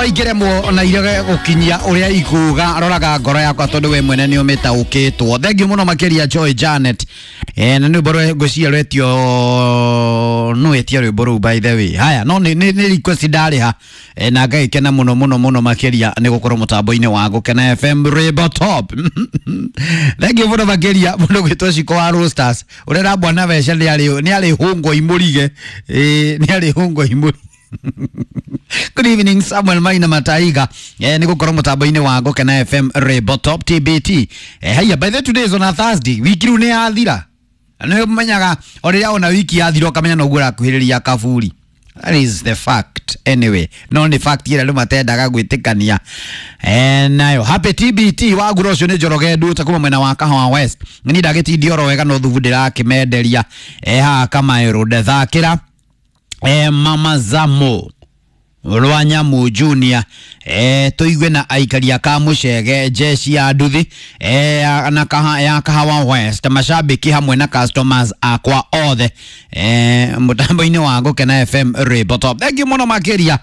Ciakwa ingĩremwo na irege gũkinyia ũrĩa ikuga, roraga ngoro yakwa tondũ we mwene nĩ ũmĩtaũkĩtwo. Thengiũ mũno makĩria, Joy Janet. Na nĩ rwĩmbo ngwĩciria rwetio no etia rwĩmbo rũu, by the way. Haya, no nĩ request ndarĩha, na ngagĩkena mũno mũno mũno makĩria nĩ gũkorwo mũtambo-inĩ wa Gũkena FM, rwĩmbo top. Thengiũ mũno makĩria mũndũ gwĩtwo Ciko wa Roasters, ũrĩa na bwana Weca nĩ arĩ hũngwo imũrige. Nĩ arĩ hũngwo imũrige. Good evening, Samuel Maina Mataiga. Nĩ gũkorwo mũtambo-inĩ wa Gũkena FM, rwĩmbo top, TBT. Haya, by the way, today is on a Thursday. Wiki rĩu nĩ yathira. Nĩ ũmenyaga o rĩrĩa ona wiki yathira ũkamenya noguo ũrakuhĩrĩria kaburi. That is the fact anyway. No nĩ fact ĩrĩa andũ matendaga gwĩtĩkania. Nayo happy TBT wagura ũcio nĩ Njoroge Nduta kuma mwena wa Kahawa West. Ni ndagĩtindio oro wega no thubu ndĩrakĩmenderia. Haha Kamaĩ Road, thakĩra Mama Zamo Rwanyamu Junior, tuigue na aikari a Kamucege, jeshi ya nduthi na ya Kahawa West, mashabiki hamwe na customers akwa othe, mutambo-inĩ wa Gũkena FM, rwĩmbo top. Thank you mũno makĩria.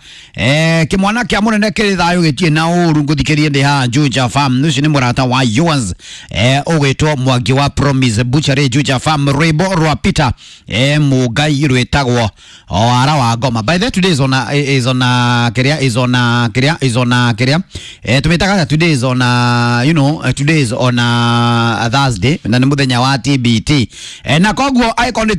Kĩmwana kĩa mũnene kĩrĩ thayũ, gĩtirĩ na ũru. Ngũthikĩrie ndĩ haha Juja Farm. Ũcio nĩ mũrata wa yours, ũgwĩtwo Mwangi wa Promise Butchery, Juja Farm. Rwĩmbo rwa Peter Mũngai rwĩtagwo Wara wa Ngoma. By the way, today is on a kĩrĩa, is on a kĩrĩa, is on a kĩrĩa, tũmĩtaga today is on a, you know today is on a Thursday na nĩ mũthenya wa TBT, na koguo angĩkorwo nĩ